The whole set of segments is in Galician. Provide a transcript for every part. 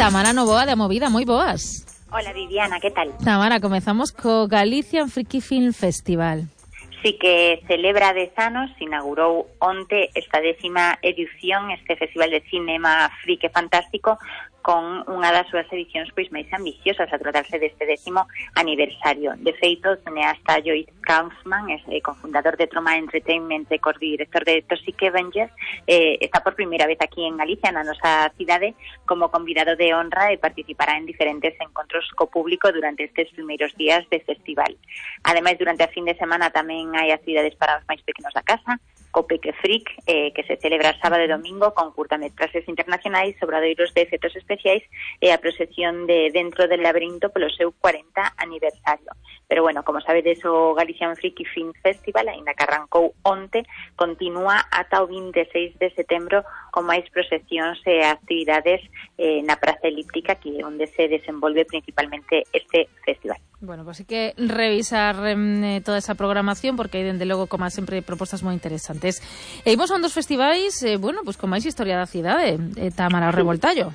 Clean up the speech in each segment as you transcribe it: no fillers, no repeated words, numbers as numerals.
Tamara Novoa de Amovida, moi boas. Hola Viviana, que tal? Tamara, comezamos co Galician Friki Film Festival. Sí, que celebra 10 anos, inaugurou onte esta 10ª edición, este Festival de Cinema Friki Fantástico, con unha das súas edicións pois máis ambiciosas a tratarse deste 10º aniversario. De feito, o cineasta Joyce Kaufman, cofundador de Troma Entertainment e co-director de Toxic Avengers, está por primeira vez aquí en Galicia, na nosa cidade, como convidado de honra e participará en diferentes encontros co público durante estes primeiros días de festival. Ademais, durante a fin de semana tamén hai actividades para os máis pequenos da casa, co Peque Freak, que se celebra sábado e domingo con curtametraxes internacionais, obradoiros de efectos especiais e a procesión de Dentro del Laberinto polo seu 40 aniversario. Pero bueno, como sabedes, o Galician Friki Film Festival, aínda que arrancou onte, continúa ata o 26 de setembro con máis procesións e actividades na Praza Elíptica, que é onde se desenvolve principalmente este festival. Bueno, pues hai que revisar toda esa programación porque hai, dende logo, como sempre, propostas moi interesantes. E imos a un dos festivais, pues con máis historia da cidade, Tamara, o Revoltallo.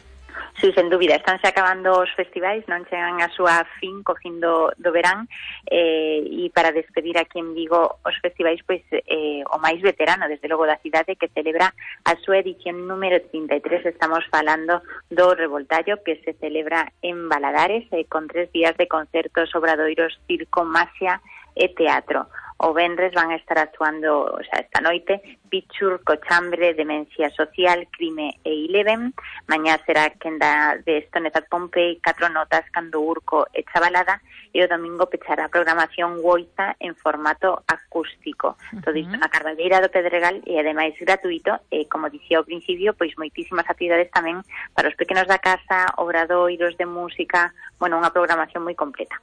Sí, sen dúbida, estánse acabando os festivais, non chegan a súa fin co fin do verán, e para despedir aquí en Vigo os festivais, pois o máis veterano, desde logo, da cidade, que celebra a súa edición número 33. Estamos falando do Revoltallo, que se celebra en Valadares, con 3 días de concertos, obradoiros, circo, magia e teatro. O venres van a estar actuando, esta noite, Picture, Cochambre, Demencia Social, Crime e Eleven. Mañá será Quenda de Stonezat Pompei, 4 notas, Cando Urco e Chavalada, e o domingo pechará a programación Woiza en formato acústico. Todo isto na Carballeira do Pedregal e ademais gratuito, e como dicía ao principio, pois moitísimas actividades tamén para os pequenos da casa, obradoiros de música, unha programación moi completa.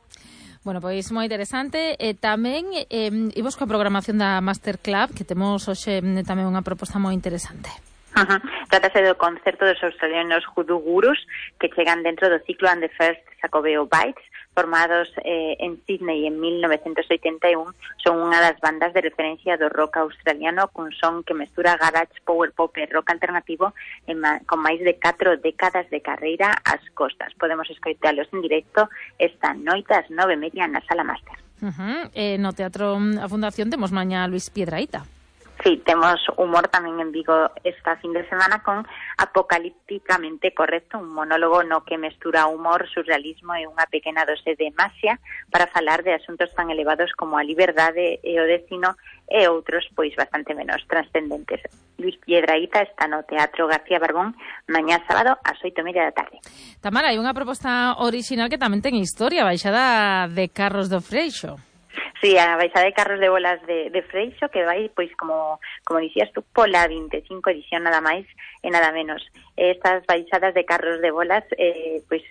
Bueno, pois moi interesante. Tamén imos coa programación da Master Club, que temos hoxe tamén unha proposta moi interesante. Trátase do concerto dos australianos Hoodoo Gurus, que chegan dentro do ciclo And the First Jacobeo Bites, formados en Sydney en 1981. Son unha das bandas de referencia do rock australiano, cun son que mestura garage, power pop e rock alternativo con máis de 4 décadas de carreira ás costas. Podemos escoitalos en directo esta noite ás 9:30 na Sala Master. No Teatro A Fundación temos mañá Luis Piedrahita. Sí, temos humor tamén en Vigo esta fin de semana con Apocalípticamente Correcto, un monólogo no que mestura humor, surrealismo e unha pequena dose de magia para falar de asuntos tan elevados como a liberdade e o destino e outros pois bastante menos trascendentes. Luis Piedrahita está no Teatro García Barbón mañá sábado ás 8:30 da tarde. Tamara, hai unha proposta original que tamén ten historia, baixada de Carros do Freixo. Sí, a baixada de carros de bolas de Freixo, que vai, pois, como dicías tú, pola 25 edición, nada máis e nada menos. Estas baixadas de carros de bolas, pois,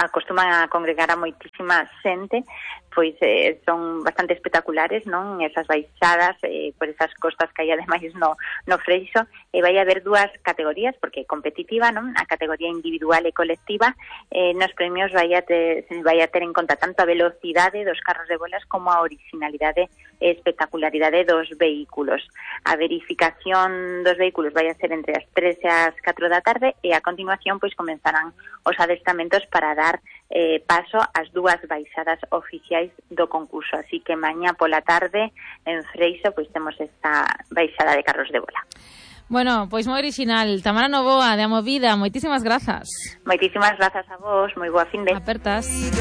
acostuman a congregar a moitísima xente, pois son bastante espectaculares, non? Esas baixadas por esas costas que hai ademais no Freixo, e vai haber 2 categorías, porque é competitiva, non? A categoría individual e colectiva. Nos premios se vai a ter en conta tanto a velocidade dos carros de bolas como a originalidade e espectacularidade dos vehículos. A verificación dos vehículos vai a ser entre as 3 e as 4 da tarde, e a continuación pois comenzarán os adestamentos para dar paso ás 2 baixadas oficiais do concurso. Así que mañá pola tarde en Freixo pois temos esta baixada de carros de bola. Bueno, pois moi original. Tamara Novoa de Amovida, moitísimas grazas. Moitísimas grazas a vos, moi boa fin de... Apertas.